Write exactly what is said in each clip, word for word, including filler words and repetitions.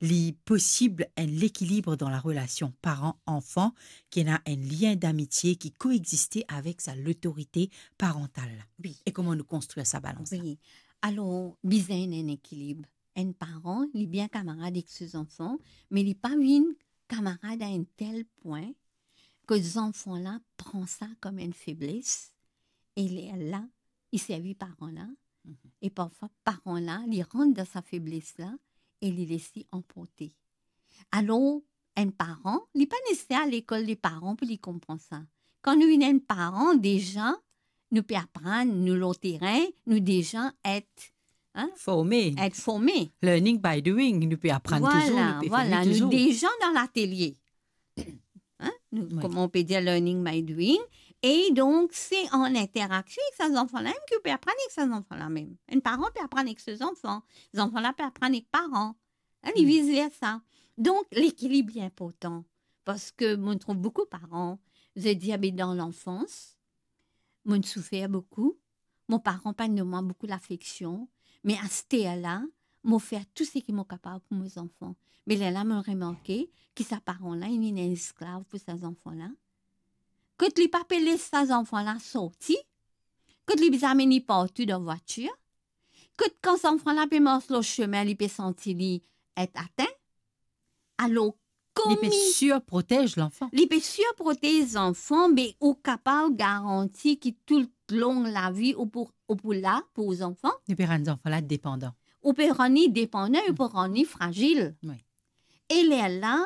li posib enn lekilib dan larelasion paran-anfan, ki ena enn lien damitie ki koexiste avek sa lotorite parantal la. Wi. E kouma nou konstrir sa balans la? Wi. Alor, bizin enn ekilib. Enn paran, li bien kamarad ek so zanfan, me li pa vinn kamarad a enn tel pwin ki zanfan la pran sa kom enn febles, e lerla, li servi paran la, mhm, e parfwa paran la, li rant dan sa febles la, e li les li anporte. Alor, enn paran, li pa neseser al lekol de paran pou li konpran sa. Kan nou vinn enn paran, deza, nou pe aprann, nou lor terin, nou deza et, hein, forme. Et forme. Learning by doing, nou pe aprann touzour, nou pe forme touzour. Vwala, nou deza dan latelie. Hein? Nou, wi, kouma nou pe dir, learning by doing. E donk, se an interaksion ek sa zanfan la mem ki ou pe aprann ek sa zanfan la mem. Enn paran pe aprann ek so zanfan. Zanfan la pe aprann ek paran. Hein, li, hmm, vis versa. Donk, lekilib li inportan. Parski mo trouv boukou paran, zot dir, "Be dan lanfans, mo soufer boukou, mo paran pa donn mwa boukou lafeksion, me aster la, mo fer tou seki mo kapav pou mo zanfan." Me lerla mo remarke ki sa paran la, li vinn enn esklav pou sa zanfan la. Kot li pa pe les sa zanfan la sorti, kot li bizin amenn li partou dan vwatir, kot kan zanfan la pe mars lor sime, li pe santi li et atin. Alor, li pe komi-, sirprotez lanfan. Li pe sirprotez zanfan, me ou kapav garanti ki toulong lavi ou pou, ou pou la pou zanfan. Li pe rann zanfan la depandan. Ou pe rann li depandan, ou pe rann li frazil. Wi. E lerla,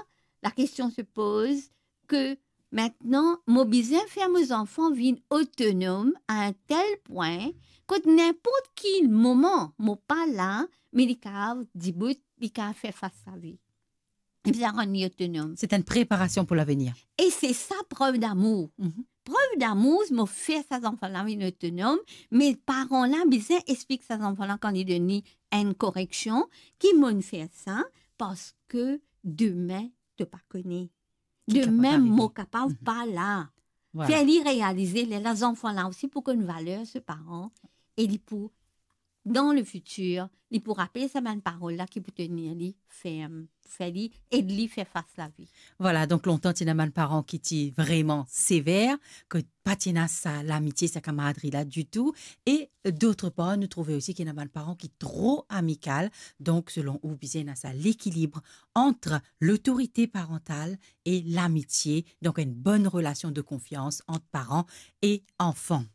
lakestion se poz ki aster, mo bizin fer mo zanfan vinn otonom a enn tel pwin kot ninport ki moman mo pa la, me li kapav dibout, li kapav fer fas lavi. Li bizin rann li otonom. Se enn preparasion pou lavenir. E se sa prev damour. Mhm. Prev damour, mo fer sa zanfan la vinn otonom, me paran la bizin explik sa zanfan la kan li donn li enn koreksion, ki mo fer sa, parski demin to pa kone. Ki kapav arive. Demin mo kapav, mhm, pa la. Vwala. Fer li realize, lerla zanfan la osi pou konn valer so paran, e li pou, dan lefitir, li pou rapel sa bann parol la ki pou tenir li ferm, fer li, ed li fer fas lavi. Vwala, donk lontan ti ena bann paran ki ti vreman sever, ki pa ti ena sa lamitie, sa kamaradri la ditou, e dotr par, nou trouve osi ki ena bann paran ki tro amikal. Donk, selon ou, bizin ena sa lekilib ant lotorite parantal e lamitie, donk enn bonn relasion de konfians ant paran e anfan.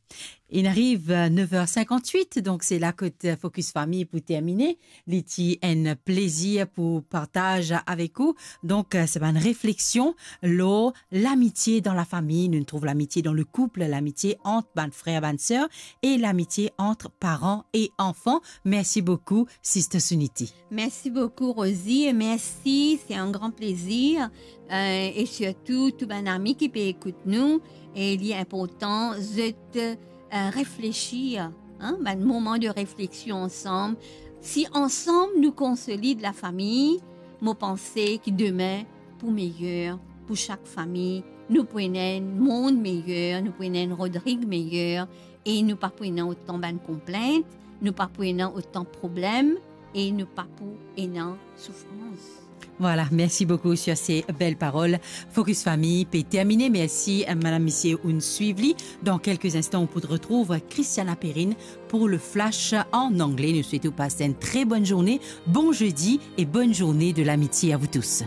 Inn ariv, euh, nev er sinkant-wit, donk se la kot, euh, Focus Famille pou termine. Li ti enn plezir pou partaz avek ou. Donk, euh, se bann refleksion lor lamitie dan lafami. Nou trouv lamitie dan lekoup, lamitie ant bann frer, bann ser, e lamitie ant paran e anfan. Mersi boukou, Sister Suniti. Mersi boukou, Rosie, e mersi, se enn gran plezir. Euh, e sirtou, tou bann ami ki pe ekout nou, e li inportan, zot, euh, reflesir, hein, bann moman de refleksion ansam. Si ansam nou konsolid lafami, mo panse ki demin pou meyer, pou sak fami, nou pou ena enn mond meyer, nou pou ena enn Rodrig meyer, e nou pa pou ena otan bann konplint, nou pa pou ena otan problem, e nou pa pou ena soufrans. Vwala, mersi boukou sir se bel parol. Focus Famille pe termine. Mersi, euh, madam, misie, ou'nn swiv li. Dan kelke instan, ou pou retrouv Christiana Perrine pour le flash en anglais. Nou swet ou pas enn tre bonn zourne, bon zedi e bonn zourne de lamitie à vous tous.